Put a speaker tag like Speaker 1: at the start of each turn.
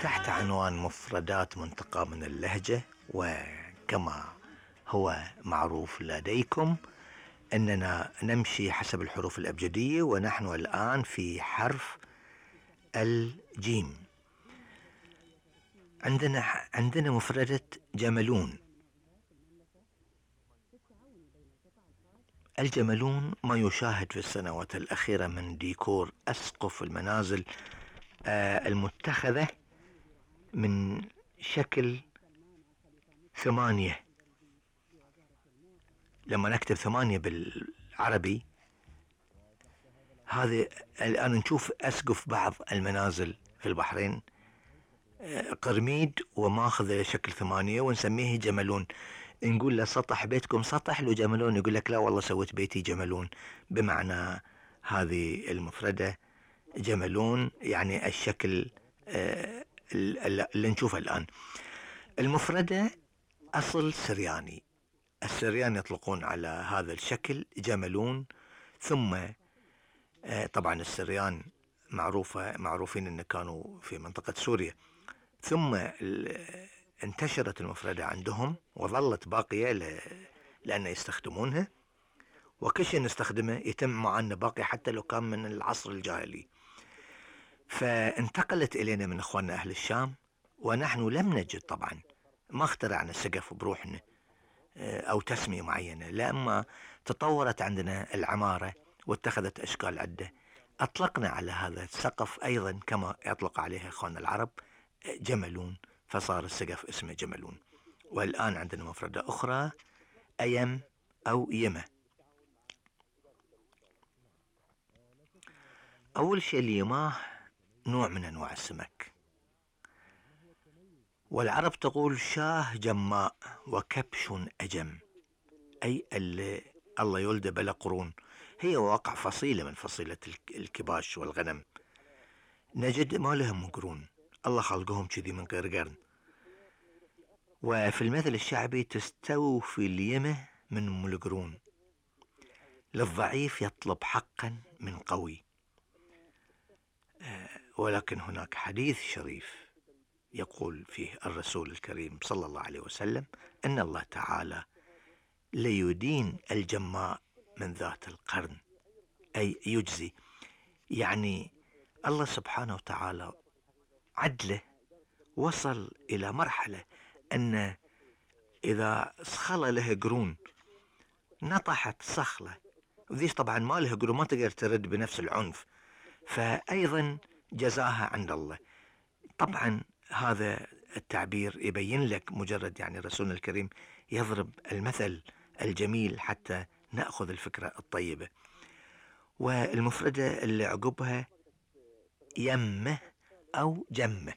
Speaker 1: تحت عنوان مفردات منتقاة من اللهجة، وكما هو معروف لديكم أننا نمشي حسب الحروف الأبجدية، ونحن الآن في حرف الجيم. عندنا مفردة جملون. الجملون ما يشاهد في السنوات الأخيرة من ديكور أسقف المنازل المتخذة من شكل 8. لما نكتب 8 بالعربي، هذه الآن نشوف أسقف بعض المنازل في البحرين قرميد وماخذ شكل 8، ونسميه جملون. نقول له سطح بيتكم سطح لو جملون، يقول لك لا والله سويت بيتي جملون. بمعنى هذه المفردة جملون يعني الشكل اللي نشوفه الآن. المفردة أصل سرياني. السريان يطلقون على هذا الشكل جملون. ثم طبعا السريان معروفين أن كانوا في منطقة سوريا، ثم انتشرت المفردة عندهم وظلت باقية لأن يستخدمونها، وكل شيء نستخدمه يتم معنا باقي حتى لو كان من العصر الجاهلي. فانتقلت إلينا من إخواننا أهل الشام، ونحن لم نجد طبعا، ما اخترعنا السقف بروحنا أو تسمية معينة، لما تطورت عندنا العمارة واتخذت أشكال عدة، أطلقنا على هذا السقف أيضا كما يطلق عليها إخواننا العرب جملون، فصار السقف اسمه جملون. والآن عندنا مفردة أخرى أيم أو يمة. أول شيء اليماه نوع من أنواع السمك، والعرب تقول شاه جماء وكبش أجم، أي اللي الله يولد بلا قرون. هي واقع فصيلة من فصيلة الكباش والغنم، نجد ما لهم قرون، الله خلقهم كذي من غير قرن. وفي المثل الشعبي تستوفي اليمة من أم القرون، للضعيف يطلب حقا من قوي. ولكن هناك حديث شريف يقول فيه الرسول الكريم صلى الله عليه وسلم أن الله تعالى ليدين الجماء من ذات القرن، أي يجزي. يعني الله سبحانه وتعالى عدله وصل إلى مرحلة أن إذا صخلة له قرون نطحت صخلة، وذيش طبعا ما له قرون ما تقدر ترد بنفس العنف، فأيضا جزاها عند الله. طبعا هذا التعبير يبين لك مجرد يعني رسولنا الكريم يضرب المثل الجميل حتى نأخذ الفكرة الطيبة. والمفردة اللي عقبها يمه أو جمه.